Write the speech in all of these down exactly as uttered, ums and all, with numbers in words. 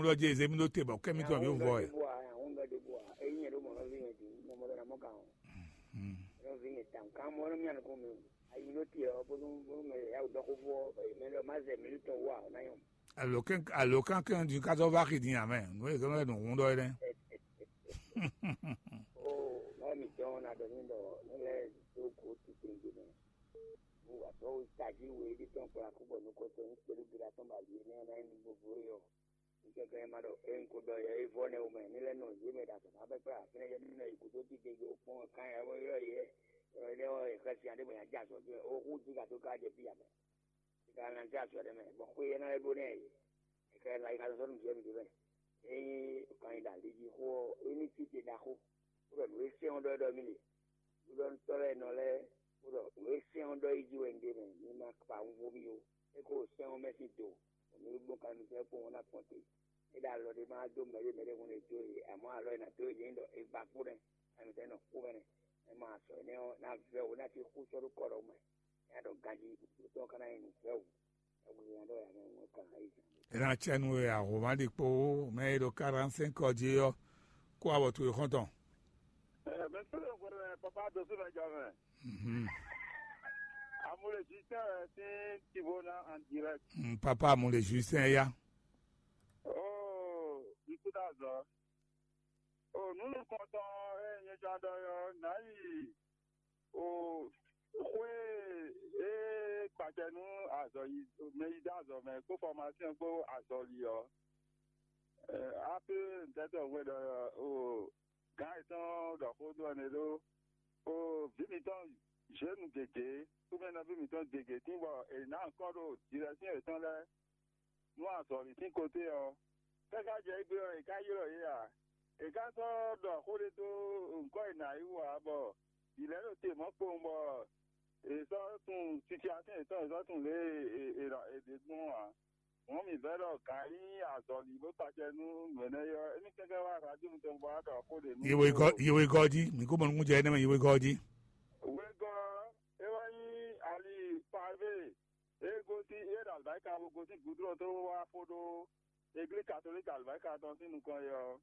Ɔ́ jɛ zé mì ɖó te bɔ kɛ́ mì tɔn yǒ vɔ ɛ. Àwọn ŋgá ɖé bua, eyín yẹn ɖó mɔ nɔví yẹn dǐ, mɔ mɔ ɖó ná mɔ kàn ó. Nɔví yẹn tàn kàn mɔ nɔví yẹn kò mí. Ayi ɖó te ɔ́, bónú bónú mɛ yà wò dɔ́ xó fó ɔ́, mɛ lɔ má zɛ mǐ tɔn wú ǎ, ɔ́ ná nyɔ. Alo kɛn alo kan kɛn di ka zɔ va xi din amɛ. Nú e kɛn lɛ nǔ hun ɖɔ é nɛ́. Ó, má mi tɔn ná ɖɔ ní ɖɔ ní lɛ dó kó titewungbe mɛ. Wú wà tɔ́ wú tají wú é ɖi tɔn kplá kú bɔ nukɔn tɔn ní kpéɖu gbéra tɔn ba lǐ é nɛ́ ná nyí vovo é ɔ́. Ní kɛkɛ ma ɖɔ é un ko ɖɔ yɛ é vɔ nɛ wú mɛ ní lɛ nɔ yě mɛ ɖo azɔ̌ ná bɛ kplá fínɛ́ yɛ ní nɔ yi gǔdo dídé yó kpɔ́n kan yɛ wɔ yɔ yɛ yɔ yɛ wɔ yɛ xɛsi aɖé bɔ yɛ jɛ azɔ̌ jɛ ó xú jí gado ká jɛ fí amɛ. Sika na jɛ azɔ̌ ɖé mɛ bɔ xwé yɛ ná lɛ ɖó nɛ yě. Kɛkɛ la yi ka sɔsɔ nú jɛ mi ɖó mɛ. Ényí kan yi ɖo ali jí xó ɔ́, é ní títí ɖaxó. Bó ɖɔ nǔ e sɛ́n ɔ́ ɖɔ ɖɔ mì le. Ɖuɖɔnutɔ́ lɛ́ɛ nɔ lɛ́ɛ, bó ɖɔ nǔ e sɛ́n ɔ́ ɖɔ yi jí wɛ un ɖe mɛ, mi ma kpa wunvó mì ó. É ko sɛ́n ɔ́ mɛ sín do, bɔ mi ɖó gbɔn kanlin kpɔ́n ɔ́ ná kpɔ́n te. É ɖo alɔ ɖé ma dó mɛɖé mɛɖé hun e dó e, amɔ̌ alɔ e ná dó e jɛ nyí ɖɔ è gba kpó nɛ́, ami tɛ́ nɔ kpó mɛ nɛ́. È ma sɔ énɛ́ ɔ́, ná vɛ́ wǒ ná cí xú sɔ́ ɖó kɔ ɖɔhun mɛ. É ná ɖɔ ganjí ɖokpó tɔn ka ná nyí nǔvɛ́ wǔ. È ná cɛ nú we ahoma ɖi kpo mɛ e ɖo quarante-cinq ɔ jí ɔ́, kó awɔ towe xɔ́ntɔn. Mɛ sɔ́ ɖo hwɛɖɔ mɛ papa dó sú mɛ jɔ mɛ. Mhm. Amule Justin wɛ sín Tivona en direct. Mm, papa Amule Justin ya. Oh, n kú dá zɔ. Oh, nú nukɔntɔn e nyɛ jɔ ɖɔ yɔ, nǎ yi o xwé e kpacɛ nú azɔ̌ yi mɛ yi dó azɔ̌ mɛ kpó fɔmasɛn kpó azɔ̌li ɔ́, ape ntɛ́tɔ́ hwɛ ɖɔ o gǎn yětɔn ɖɔ xó dó ɛnɛ ɖó o vǐ mǐtɔn zěnu gěgé kpó mɛ nɔví mǐtɔn gěgé tín bɔ è nǎ nyǐkɔ ɖo dirɛsín yětɔn lɛ́ɛ nú azɔ̌li sín koté ɔ́, káká jɛ égbé ɔ́, è ká ylɔ́ yě ǎ. È ká sɔ́ ɖɔ xó ɖé dó nyǐkɔ e nǎ yi wú ǎ, bɔ vǐ lɛ́ɛ ɖo te mɔ̌ kpowun, bɔ è sɔ́ tunwun sisyasɛ́n yětɔn, è sɔ́ tunwun lě e è è è ɖe gbɔn ɔ́ ǎ. Hǔn mǐ vɛ́ ɖɔ gǎn e nyí azɔ̌li bó kpacɛ nú nǔ énɛ́ é ɔ́, émí kɛ́kɛ́ wá radio mitɔn bó wá ɖɔ xó ɖě nú Yewegɔ́, yewegɔ́ jí, mǐ kó mɔ nukúnnú jɛ énɛ́ mɛ yewegɔ́ jí. Wegɔ́, é wá nyí ali pavé. É gosín é ɖo alibáyíká bó gosín gudlɔ́n tó wá fó ɖó eglízi katolíki alibáyíká tɔn sín nukɔn é ɔ́,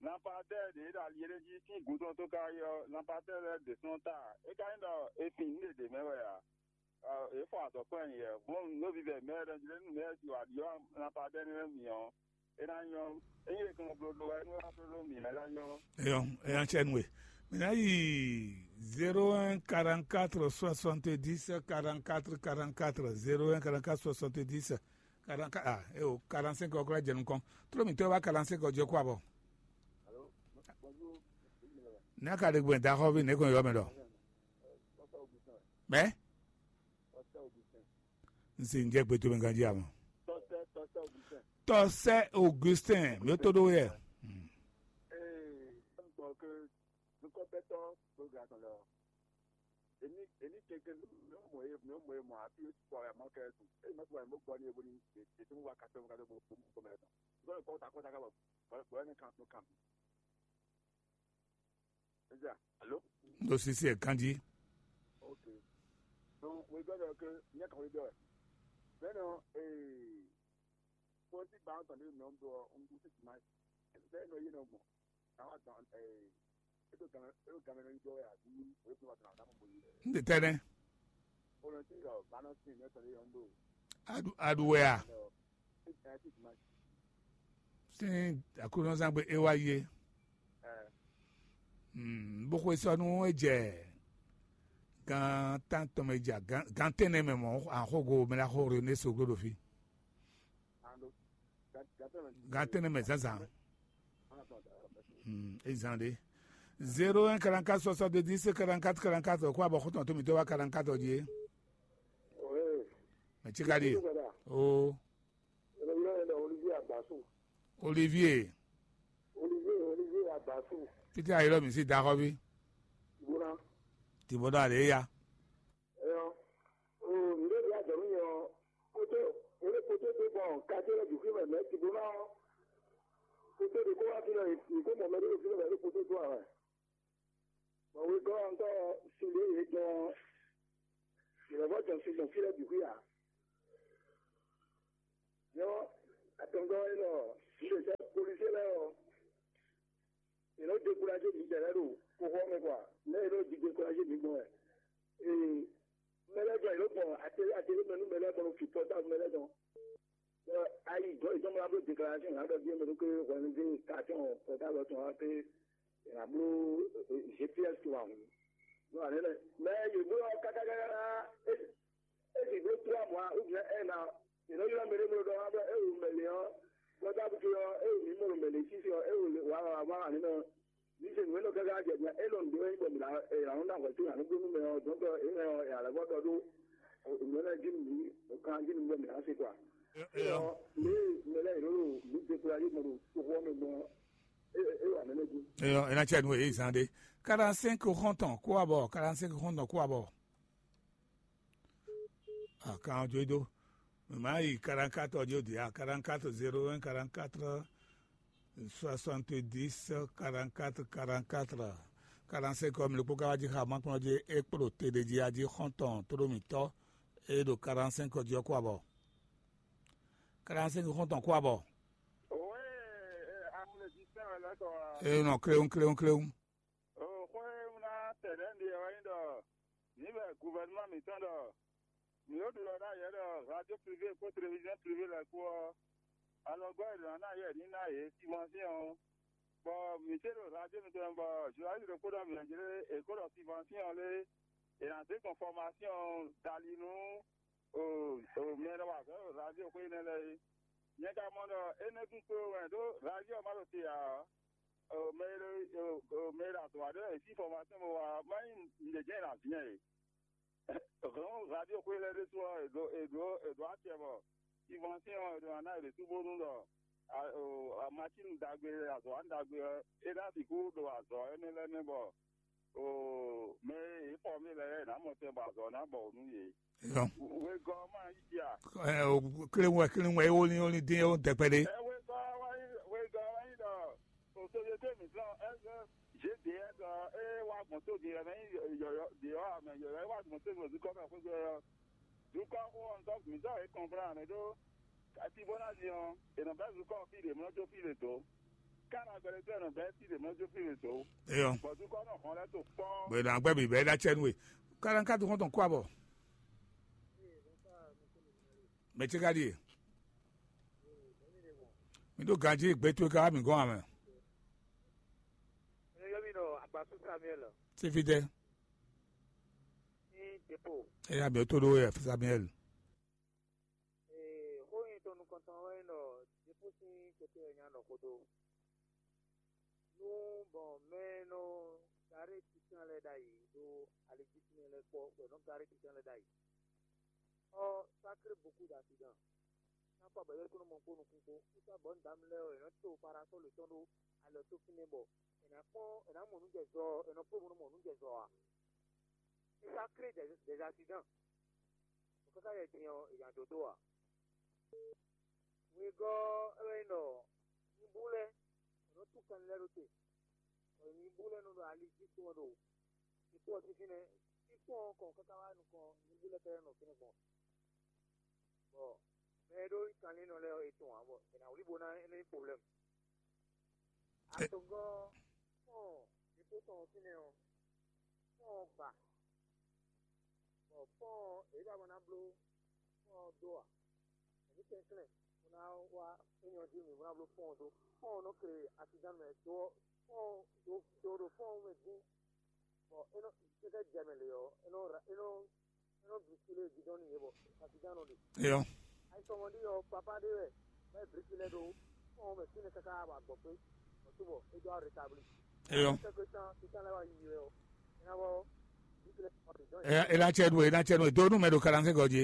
lanpadɛ́ɛ ɖě e ɖo ali éɖée jí sín gudlɔ́n tó ka yi ɔ́, lanpadɛ́ɛ lɛ́ɛ ɖě sɔ́ ta. É ka nyí ɖɔ è fin nǔ ɖě ɖě mɛ wɛ ǎ. È fɔ azɔ̌ kpɔ́n nyi yɛ, gbɔn nǔ vívɛ mɛ ɖɔ jí lé nú mɛ si wǎ ɖiɔ lanpadɛ́ɛ nɛ́ mì ɔ́, é ná nyɔ́. Ényí è kɔn blóɖó wɛ nú é wá blóɖó mǐ lɛ́ɛ ná nyɔ́. Eyɔn, eyɔn cɛ nú we. Mǐ ná yi zéro un quarante-quatre soixante-dix quarante-quatre quarante-quatre, zéro un quarante-quatre soixante-dix quarante-quatre, ah, eo, quarante-cinq ɔ́ kó jɛ nukɔn. Tló mǐtɔn wá quarante-cinq ɔ́ jɛ kó abɔ. Ní a ka ɖe gbɔn daxɔvi nɛ̌ kɔn yɔ mɛ ɖɔ? Mɛ? N se n jɛ gbe towe ganji ama. Tɔsɛ Augustin, mi to ɖo yɛ. Ee, n gbɔ ke nukɔnpɛtɔ gbogbo atɔn lɛ ɔ, èmi èmi keke mi ò mɔ ye mi ò mɔ ye mɔ afi o ti kpɔ ya mɔ kɛ tu e ma tu wa mo gbɔ ni ebo ni e ti mu wa katɔ mo katɔ mo mo mo mɛ tɔn gbɔ kɔ ta kɔ ta ka bɔ bɔ ne kan no kan. Eja, alo? N ɖo sisi ɛ ganji. Ok. Donc, we gbɛdɔ ke nyɛ kan we dɔ. Bɛnɔ ee pɔnti ba tɔn de nɔ dɔ n bu ti ma. Bɛnɔ ye nɔ gbɔn. Àwọn àgbà ẹ̀ ètò gan ètò gan mẹ́rin jọ ẹ̀ àbí òye fún wa tàn àdámọ̀ bòye. N tɛ tɛnɛ. Olùsí yọ bánà sí ní ẹ̀tọ́ ní yọ ń lò. Adu aduwɛ a. Ẹ̀ ẹ̀ ti tì máa. Sin akunɔzangbe ewa ye. Ẹ̀ Mm, bó xwe sɔ́ nú é jɛ gan tántɔn mɛ ja gan gan tɛnɛ mɛ mɔ axɔgo mɛ la xɔ René Soglo ɖo fí. Gan tɛnɛ mɛ zazan. Mm, ezan ɖe. Zéro un quarante-quatre soixante-dix quarante-quatre quarante-quatre kó abɔ xɔtɔn tó mi tó wá quarante-quatre ɔ́ jí é. Mɛ tsi ka ɖi. O. Olivier. Olivier, Olivier Abasu. Títí ayé lɔ mi sí daxɔ bí. Gbóná. Tìbọdọ àlè ya. Ẹyọ. O, ǹdé bí àjọ mi yọ. Kótó, olè kótó tó bọ̀, kájé lọ dùkú mẹ mẹ tìbọdọ. Kótó de kó wá fi lọ, ìkó mọ̀ mẹ́rin ló fi lọ, mẹ́rin kótó tó àwọn. Bɔn wegɔ́ ɔ́ ŋutɔ sin ɖě yě dɔn ɔ́, yě lɔ vɔ́ dɔn sin gbɔn fí lɛ́ɛ bǐ xwí ǎ. Nyɔ́ atɔngɔ́ élɔ́, ɔ́, sin ɖě sɛ́ Lɛ́ ɖo xóxó ɔ́ mɛ kɔ a? Lɛ́ e ɖo jijɛ kɔ jí mi gbɔn wɛ. Ee, mɛ lɛ́ɛ gbɔn yě ɖo gbɔn atelier atelier mɛ nú mɛ lɛ́ɛ gbɔn ɖo fi pɔtáblu mɛ lɛ́ɛ dɔn. Bɔ ayi dɔn ìjọba bó déclaration là ɖɔ díẹ̀ mɛ ɖo ké hwɛnúdé station pɔtáblu tɔn wá pé là bló G P S tó wà hùn. Nú àlẹ́ lɛ mɛ yě bló kákákáká é é sì bló trois mois ou bien un an. Yě nɔ ylɔ́ mɛ ɖé bló ɖɔ wá bɔ é wǒ mɛ lě ɔ́ pɔtáblu ɔ́ é wǒ mǐ mɔ ɖo mɛ lě sísè ɔ́ é wǒ wá wá wá wà nínú. Níṣẹ́ nǔ e nɔ káká jɛ din é nɔ nǔɖé wɛ nyí bɔ mǐ ná è nǎ nɔ ná hwɛ̌ tó nǎ nú gbónú mɛ ɔ́ dɔn bɔ é mɛ ɔ́ è nǎ lɛ́ vɔ ɖɔ ɖó nǔ énɛ́ jí nǔ kan jí nǔ bɔ mǐ ná se kɔ a? Eyɔ. Lě e mɛ lɛ́ɛ yě ɖo ɖo mǐ dékplá yé mɔ ɖo toxo ɔ́ mɛ gbɔn ɔ́, é é wǎ mɛ lɛ́ɛ jí. Eyɔ, é ná cɛ nú èyí zán ɖé. Quarante-cinq xɔ́ntɔn kó abɔ, quarante-cinq xɔ́ntɔn kó abɔ. Ah, kan ɔ́ jó dó. Mɛ má yi quarante-quatre ɔ́ jó dě a, quarante-quatre zéro un quarante-quatre soixante-dix quarante-quatre quarante-quatre. Quarante-cinq ɔ́, mlekpó ka wá jí xa makplɔ́n jí é kpló te ɖé jí a jí xɔ́ntɔn tló mǐtɔn e ɖo quarante-cinq ɔ́ jí ɔ́ kó abɔ. Quarante-cinq xɔ́ntɔn kó abɔ. Òwe amúlẹ̀jísɛ́n wɛ lɛ́ tɔ wá. E nɔ kléwún kléwún kléwún. Xwé e un ná tɛ ɖɛ̌ ɖe ɔ́ wɛ nyí ɖɔ mǐ bɛ guvɛnúma mǐtɔn ɖɔ mǐ ɖo ɖiɖɔ ná yě ɖɔ radio privé kpó téléviziɔn privé lɛ́ɛ kpó ɔ́, alɔgɔ́ e ɖǒ ná ná yě ní ná yě simansɛn ɔ́, bɔ mǐ se ɖo radio mitɔn bɔ journaliste ɖokpó ɖɔ mǐ jlé è kó ɖɔ simansɛn ɔ́ lé, è nǎ zé gbɔn fɔmasɛn ɔ́ dali nú mɛ e nɔ wa azɔ̌ ɖo radio xwé énɛ́ lɛ́ɛ é. Nyɛ ka mɔ ɖɔ énɛ́ kún kpé wɛ ɖó radio ɔ́ ma ɖo te ǎ. Mɛ e ɖo mɛ e ɖo azɔ̌ wa ɖé wɛ è sín fɔmasɛn bó wa má nyí nǔɖé jɛ́n è nǎ vǐ nyɛ e. Hɔn radio xwé lɛ́ɛ ɖésú ɔ́, è ɖǒ è ɖǒ è ɖǒ acɛ bɔ simansɛn ɔ́ è ɖǒ ná ná è ɖě sú bónú ɖɔ amacínu ɖagbe azɔ̌ wa ɖagbe ɔ́, é ná sixú ɖo azɔ̌ énɛ́ lɛ́ɛ mɛ bɔ mɛ e yě fɔ mì lɛ́ɛ é nǎ mɔ tɛn bɔ azɔ̌ ná bɔ nú yě. Yɔ. Wegɔ́ ɔ́ ma nyí jí a? Ɛ, o, kle wɛ kle wɛ wóni wóni dín ó dɛkpɛ ɖé. Ɛ wegɔ́ ɔ́ wá nyí wegɔ́ ɔ́ wá nyí ɖɔ société mǐtɔn G D S ɔ́ é wá gbɔn tó din ɔ́ mɛ nyí yɔ̌yɔ́ ɖě ɔ́ mɛ yɔ̌yɔ́ é wá gbɔn tó din ɖo zukɔ́ mɛ xwé gbé ɔ́. Zukɔ́ xó ɔ́ ŋutɔ́ mǐtɔn é kɔnplán mɛ ɖó Kati bó ná din ɔ́, è nɔ bɛ́ zukɔ́ fí ɖě mlɔ́ jó fí ɖě dó. Kánagbɛ́lɛ́ tɔ́ è nɔ bɛ́ fí ɖě mlɔ́ jó fí ɖě dó. Eyɔ. Bɔ zukɔ́ nɔ hɔn lɛ́ to kpɔ́. Bɔ è nɔ agbɛ́ bǐ bɛ́ ɖó acɛ nú we. Kánakádu xɔ́ntɔn kó abɔ. Mɛ ce ka ɖíe? Mi ɖó ganjí gbe towe ka wá mǐ gɔ́n ǎ mɛ. Yɔ mi nɔ Agbasu Samuel. Sífítɛ́. Ní Depo. Eya mǐ tó ɖó wɛ Samuel. Ee, xó nyi tɔn nukɔntɔn wɛ nyí ɖɔ Jefu sín kote wɛ nya nɔ xo dó. Nú bɔ mɛ e nɔ garé titán lɛ́ɛ ɖ'ayǐ ɖo ali jí tínmɛ lɛ́ɛ kpɔ́, bɔ è nɔ garé titán lɛ́ɛ ɖ'ayǐ. Ɔ́, sacré beaucoup d'accident. Ná kpɔ abɛ̌ kúnnu mɔ kpó nukún kpó. Kúta bɔ nǔdámɛ lɛ́ɛ ɔ́, è nɔ to parasɔ́lu tɔn ɖó alɔ tó fínɛ́ bɔ è nǎ kpɔ́n, è nǎ mɔ nǔ jɛ zɔ ɔ́, è nɔ kpó bó nɔ mɔ nǔ jɛ zɔ ǎ. É sacré des, des accidents. Bɔ káká yɛ din ɔ́, è nya dǒ dó ǎ. Wegɔ́ ɔ́, é wɛ nyí ɖɔ nyibú lɛ́ɛ è nɔ tú kanlin lɛ́ɛ ɖó te, bɔ nyibú lɛ́ɛ nɔ ɖo ali jí kpɔ́n ɖo ikú ɔ́ sín fínɛ́. Ikú ɔ́ kɔn káká wá nukɔn nyibú lɛ́ɛ ka nɔ fínɛ́ gbɔn. Bɔ mɛ e ɖó kanlin nɔ lɛ́ɛ ɔ́, è tunwun ǎ, bɔ è nǎ wlí bo ná é nɔ nyí problème. Atɔngɔ́ fɔ́n yětó tɔn ɔ́ fínɛ́ ɔ́, fɔ́n ɔ́ gba, bɔ fɔ́n ɔ́, yě ba ma ná bló fɔ́n ɔ́ dó ǎ. Mǐ kɛnklɛ́n bó ná wá é nyɔ́ jí mǐ bó ná bló fɔ́n ɔ́ dó. Fɔ́n ɔ́ nɔ kle asidán mɛ dó ɔ́, fɔ́n ɔ́ dó dó ɖo fɔ́n ɔ́ mɛ dín, bɔ é nɔ kɛkɛ jɛ mɛ lě ɔ́, é nɔ ra- é nɔ é nɔ brisé lé gidɔn n'i yě bɔ asidán nɔ ɖe. Eyɔ. Ayisɔmɔɖi ɔ́, papa ɖé wɛ bɛ brisé lɛ ɖó fɔ́n ɔ́ mɛ fínɛ́ káká bɔ agbɔ̌ kpé, bɔ tó bɔ é dó rétabli. Eyɔ. Kɛkɛ tán títán lɛ wá yi wɛ ɔ́, é ná bɔ brisé lɛ kɔ ɖe dɔn. Eya ela cɛ ɖu ela cɛ ɖu do nu mɛ ɖo kalanse gɔ jí.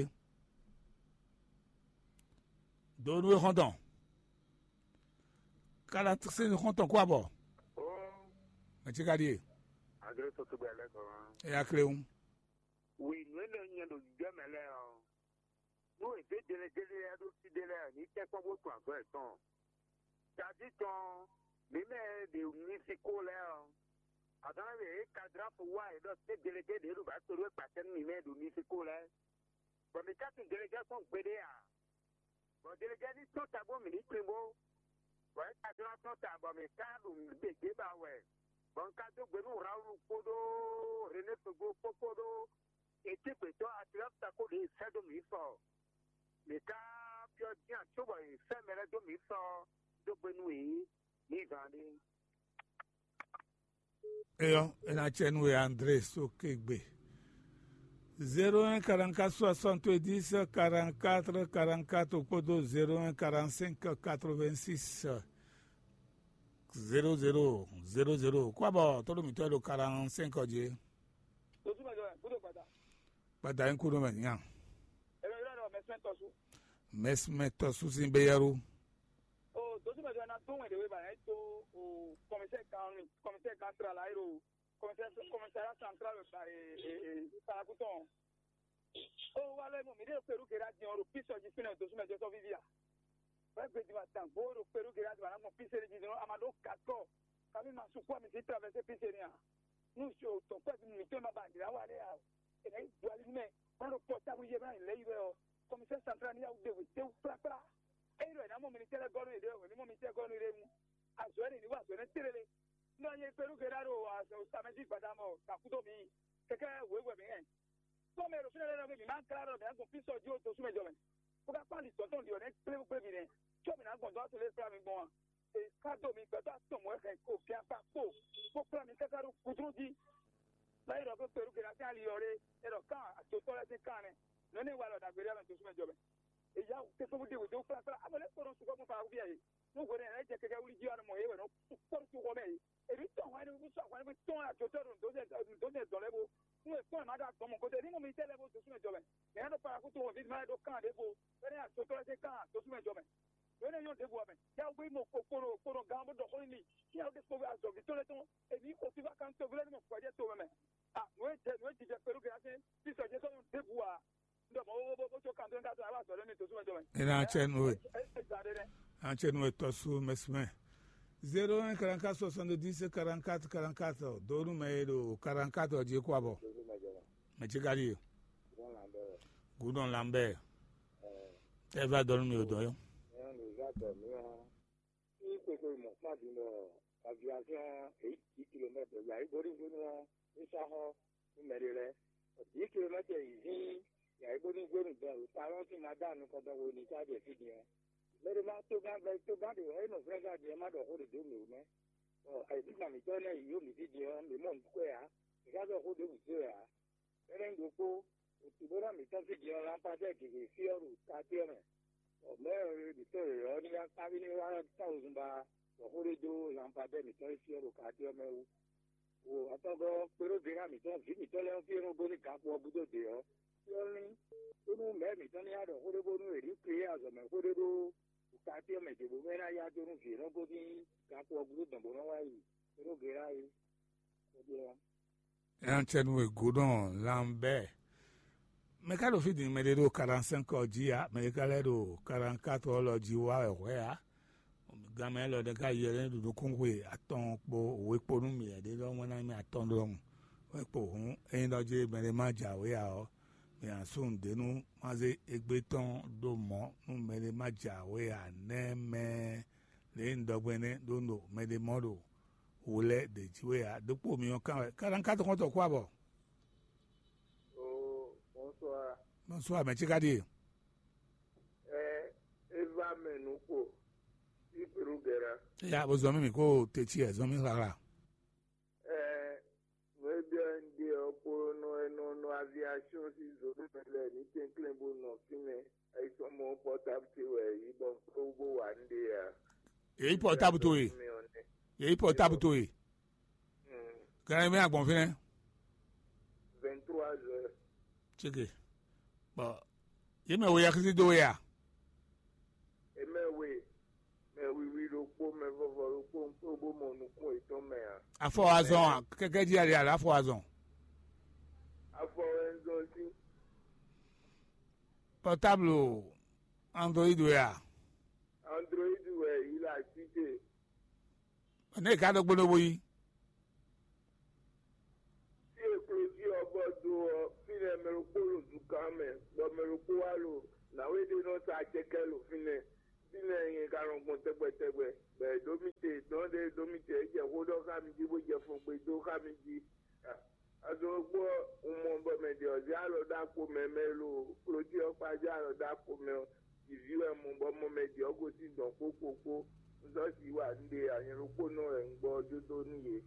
Do nu xɔntɔn. Kalanse xɔntɔn kó abɔ. Mɛ tí ka ɖíe. Agre tó tó gbɛ lɛ kɔ. Eya kléwu. Wi nǔ e nɔ nyɛ ɖo jijɛ mɛ lɛ ɔ́, nú è zě jɛnɛjɛnɛ lɛ́ɛ ɖó fí ɖé lɛ́ɛ ní tɛ́nkpɔ́n bó tun azɔ̌ yětɔn. Tají tɔn mǐ mɛ e ɖe Mexiko lɛ́ɛ ɔ́, azɔ̌ e kadráfu wa è ɖɔ sé délégué ɖě ɖo bǎ to ɖó gbacɛ́ nú mǐ mɛ e ɖo Mexiko lɛ́ɛ, bɔ mǐ ka tunwun délégué kpɔ́n gbeɖé ǎ. Bɔ délégué ní tɔ́n ta bó mǐ ní tunwun bó, bɔ é ka jló ná tɔ́n ta bɔ mǐ ka ɖo nǔ ɖě ba wɛ. Bɔ un ka dó gbe nú Rawulu kpódó René Togo kpó kpódó Etígbetɔ́ Atilɔ́fta kpó ɖě e sɛ́ dó mǐ sɔ. Mǐ ka byɔ́ dín ǎ cóbɔ è sɛ́ mɛ lɛ́ɛ dó mǐ sɔ dó gbe nú yě ní zǎn ɖé. Eyɔ, ena cɛ nú we André Sokegbe. Zéro un quarante-quatre soixante-dix quarante-quatre quarante-quatre kpódó zéro un quarante-cinq quatre-vingt-six zéro zéro zéro zéro. Kó abɔ tɔ́ ɖo mǐtɔn e ɖo quarante-cinq ɔ́ jí. Dojú mɛ jɔ wɛ, kúndé gbada. Gbada yín kúndó mɛ nya. Ebe yɔrɔ dɔ mɛsmɛ tɔsu. Mɛsmɛ tɔsu sin be yɛru. O dojú mɛ jɔ na tó wɛn de we ba yɛ tó o kɔmísɛ kan kɔmísɛ kan sira la yɛ o kɔmísɛ kɔmísɛ la santral ba e e e parakutɔn. O wa lɛ mo mi de peru gera diɔn ro pisɔ ji finɛ dojú mɛ jɔ sɔ vivi a. Wɛ gbedi ma dan gbo ro peru gera di ma na gbɔn pisɛ di dɔn a ma ɖo kakɔ. Kami ma sukú mi si traverse pisɛ ni a. Nu si o tɔn kpɛ mi tɔn ma ba dira wa lɛ a. Ena yi du ali mɛ. Ɔnɔ kpɔ tabu yɛ mɛ lɛ yi wɛ ɔ. Commissaire central ni yawu de wete wu kplakpla. Eyi ɖɔ ena mɔ mi ni tɛlɛ gɔnu yi ɖe o ni mɔ mi tɛ gɔnu yi ɖe mu. Azɔ ɛni ni wa azɔ ɛnɛ tere le. Nɔ ye peru gera ɖo samedi gbadamɔ kakudo mi. Kɛkɛ wewɛ mi hɛn. Kpɔ́ mɛ ɖo fínɛ́ lɛ́ɛ nɔ mǐ má klá ɖɔ mǐ ná gbɔn fí sɔ jí ó dosú mɛ jɔ mɛ, bó ká kpán ali dɔ̌n tɔn ɖi ɔ́ nɛ́ kplé kplé mǐ nɛ́, có mǐ ná gbɔn dɔ̌n to lé kplá mi gbɔn a? È ká dó mi gbɛtɔ́ atɔn mɔ̌ hɛn ko fíakpá kpo bó kplá mi káká ɖó gúdú jí. Bá yi ɖɔ pé Peru Gelasɛ́n ali ɔ́ ɖé, é ɖɔ kán ajotɔ́ lɛ́ɛ sín kán nɛ́. Nɔ̌ énɛ́ wa lɔ ɖagbe ɖé mɛ dosú mɛ jɔ mɛ. È yá wǔ tɛ́ kpé bó ɖe wědó kplá kplá, amɔ lɛ́ kpo nɔ sukpɔ́ gbɔn Falakufiya e. Nú hwenɛ́ lɛ́ɛ jɛ kɛkɛ wlí jí ɔ́, mɔ yě wɛ nɔ kpɔ́ nú toxɔ mɛ e. Èmi tɔn hwɛn nú sɔ́ hwɛn nú tɔn ajotɔ́ ɖo nǔ dó nɛ dɔ̌n lɛ́ɛ bó. Nú è kpɔ́n è má ɖó azɔn mɔ̌ gúdo, ní mɔ mi tɛ́ lɛ́ɛ bó dosú mɛ jɔ mɛ. Mɛ ɛ ɖo parakútu wɔn ví ma ɛ ɖó kan ɖěvo, bɔ é ná ajotɔ́ lɛ́ɛ sín kan dosú mɛ jɔ mɛ. Nǔ énɛ́ nyɔ́ ɖěvo ǎ mɛ. Yá wú gbé mɔ kpokpono kpono gán bó ɖɔ xó n'i mì. Fí ɛ wú ɖe kpó azɔ̌ví tɔn lɛ́ɛ tɔn. Èmi xo fífá kan toví lɛ́ɛ ní mɔ gbɔjɛ́ to mɛ mɛ. A nǔ e jɛ nǔ e jijɛ kpɛɖú gɛ́ ná sín fí sɔjɛ́ tɔn ɖěvo ǎ. Un ɖɔ mɔ̌ bó bó bó có kan tó ń ká tó ná wá azɔ̌ lɛ́ɛ mì dosú mɛ jɔ mɛ. Ena cɛ nú we. Ena cɛ nú we tɔ́sú mɛsmɛ. Zéro un quarante-quatre soixante-dix quarante-quatre quarante-quatre. Donu mɛ e ɖo quarante-quatre jí kó abɔ. Mɛ ce ka ɖi e? Gudɔn Lambert. Tɛ va dɔnu mi o dɔ yɔ. Ní kpekpe mɔ kpán din ɖɔ aviation èyí dix kilomètres yǎ yi bórí gbónú ɔ́, é sá xɔ nú mɛ ɖé lɛ́ɛ. Dix kilomètres yi hín yǎ yi bónú gbónú dɔn ɖo talɔn sín ma dá nukɔn dɔn wo ní ká jɛ fí din ɔ́. Mɛ ɖé má tó gán gbɛ tó gán ɖe wɛ é nɔ vlɛ́ gán din ɔ́ má ɖɔ xó ɖě dó mǐ wú mɛ. Bɔ ayǐkúngban mǐtɔn énɛ́ yi yǒ mǐ fí din ɔ́, mǐ mɔ nǔ kɔ ɛ ǎ. Mǐ ka ɖɔ xó ɖěbǔ dó ɛ ǎ. Énɛ́ ɖokpó, òtúbóná mǐtɔn sín din ɔ́, lanpadɛ́ gěgé fí ɔ́ ɖo katé ɔ́ mɛ. Bɔ mɛ̌ mǐtɔn yɔ̌yɔ́ ní ná kpáví ní wá táwǔzunba bɔ xó ɖé dó lanpadɛ́ mǐtɔn e fí ɔ́ ɖo katé ɔ́ mɛ wú. Wo atɔ́gɔ́ kpéɖó Gérá mǐtɔn vǐ mǐtɔn lɛ́ɛ ɔ́ fí e nɔ gosín gǎkpo ɔ́ gúdo dě ɔ́, fí ɔ́ lín, bónú mɛ̌ mǐtɔn ní wá ɖɔ xó ɖé bónú è ní kplé azɔ̌mɛxó ɖé ɖó katé ɔ́ mɛ ce bónú é ná yá dó nú vǐ e nɔ gosín gǎkpo ɔ́ gúdo dɔn bó nɔ́ wá yi kpéɖó Gérá é. Xó ɖé ɔ́. Ɛn cɛ nu e gǔ nɔ lanbɛ. Mɛ ka ɖo fí din mɛ ɖé ɖo quarante-cinq ɔ́ jí ǎ, mɛ ɖé ka lɛ́ ɖo quarante-quatre ɔ́ lɔ jí wá wɛ hwɛ̌ ǎ. Ganmɛ élɔ́ ɖé ka yɛ lɛ́ ɖo nukúnxwe atɔn kpó we kpó nú mì, ɛɖé ɖɔ wɛn ná mì atɔn ɖɔhun. Wɛ kpo hǔn ényí ɖɔ jí mɛ ɖé má jǎwe ǎ ɔ́, mì nǎ sú nǔɖé nú má zé égbé tɔn ɖó mɔ̌ nú mɛ ɖé má jǎwe ǎ nɛ́ mɛ. Lě e un ɖɔ gbɔn énɛ́ ɖó un ɖo mɛ ɖé mɔ ɖo wo lɛ́ɛ ɖě jí wɛ ǎ. Ɖokpó mi ɔ́ kán wɛ. Quarante-quatre xɔ́ntɔn kú abɔ. Oh, bonsoir. Bonsoir, mɛ ce ka ɖíe? Ɛ, Eva mɛ nukpo. Iperu gɛra. Ya, bo zɔn mi mi ko te ci ɛ, zɔn mi hlahla. Ɛ, nú e byɔ́ un ɖe ɔ́ kpo nɔ e nɔ nɔ aviation sín zǒnú mɛ lɛ́ɛ ní kɛnklɛ́n bó nɔ fínɛ́. Ayisɔmɔ pɔ́tábu ce wɛ yǐ bɔ bó wá nú ɖe ǎ. Yě yí pɔ́tábu towe. Yě yí pɔ́tábu towe. Gǎn mɛ agbɔn fínɛ́. Vingt-trois heures. Céke. Bɔn yě mɛ wo yaxisi dó we a? È mɛ we, mɛ wiwi ɖokpó, mɛ vɔvɔ ɖokpó, un kpé bó mɔ nukún yětɔn mɛ ǎ. Afɔ azɔn a? Kɛkɛ jí ali ala afɔ azɔn. Afɔ wɛ un zɔn sín. Pɔtáblu Android wɛ a? Android wɛ yě la cité. Ne ka ɖo gbódó bó yi. Fí e klodí ɔ́ bɔ do ɔ́, fínɛ́ mɛ ɖokpó ɖo zukán mɛ, bɔ mɛ ɖokpó wá ɖo nǎwe ɖé nɔ sa acɛkɛ ɖo fínɛ́. Fínɛ́ nyɛ ka nɔ gbɔn tɛgbɛ tɛgbɛ, bɔ è ɖǒ mì te Nɔ ɖe ɖo mi tɛ jɛ xó ɖɔ xá mi jí bó jɛ fɔn gbe dó xá mi jí. Azɔn gbɔ un mɔ bɔ mɛ ɖe ɔzɛ alɔ ɖo akpo mɛ mɛ lo klotí ɔkpa jɛ alɔ ɖo akpo mɛ ɔ. Vivi wɛ mɔ bɔ mɔ mɛ ɖe ɔgo sín dɔn kpókpókpó. Un sɔ si wa un ɖe anyɛ ɖokpó nɔ wɛ un gbɔ jó dó nú yě.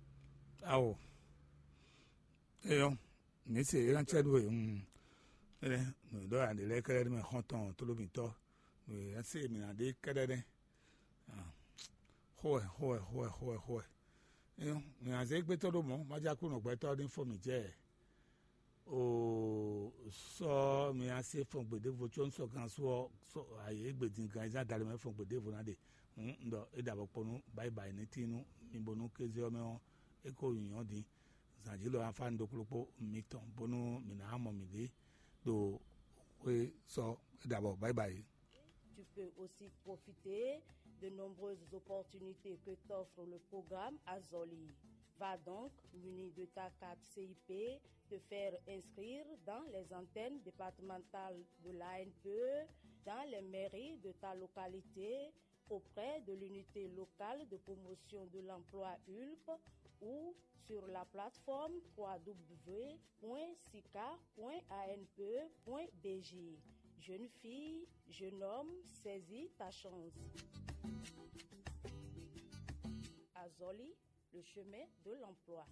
Awo. Eyɔ. Mi se eran cɛ ɖo e. Ele. Ɖɔ aɖe lɛ kɛɖɛ mɛ xɔntɔn tolomitɔ. Ase mi na ɖe kɛɖɛ ɖe. Xowɛ, xowɛ, xowɛ, xowɛ, xowɛ. Eyɔ. Mi na zé gbɛtɔ ɖo mɔ ma ja kú nɔ gbɛtɔ ɖi fɔ mi jɛ. O sɔ mi ase fɔn gbeɖevo tso un sɔ gan so ɔ. Sɔ ayi egbe din gan eza dali mɛ fɔn gbeɖevo na ɖe. Hun un ɖɔ e ɖa bɔ kpɔnu bayi bayi ne tinu mi bonu keze ɔ mɛ ɔ. E ko nyɔ din. Zan jí lɔ afa un ɖo kplokpo mitɔn bonu mi na mɔ mi ɖe ɖo xwe sɔ e ɖa bɔ bayi bayi. Tu peux aussi profiter de nombreuses opportunités que t'offre le programme Azoli. Va donc, muni de ta carte C I P, te faire inscrire dans les antennes départementales de l'A N P E, dans les mairies de ta localité, auprès de l'unité locale de promotion de l'emploi U L P ou sur la plateforme trois W point sica point A N P E point B G. Jeune fille, jeune homme, saisis ta chance. Azoli, le chemin de l'emploi.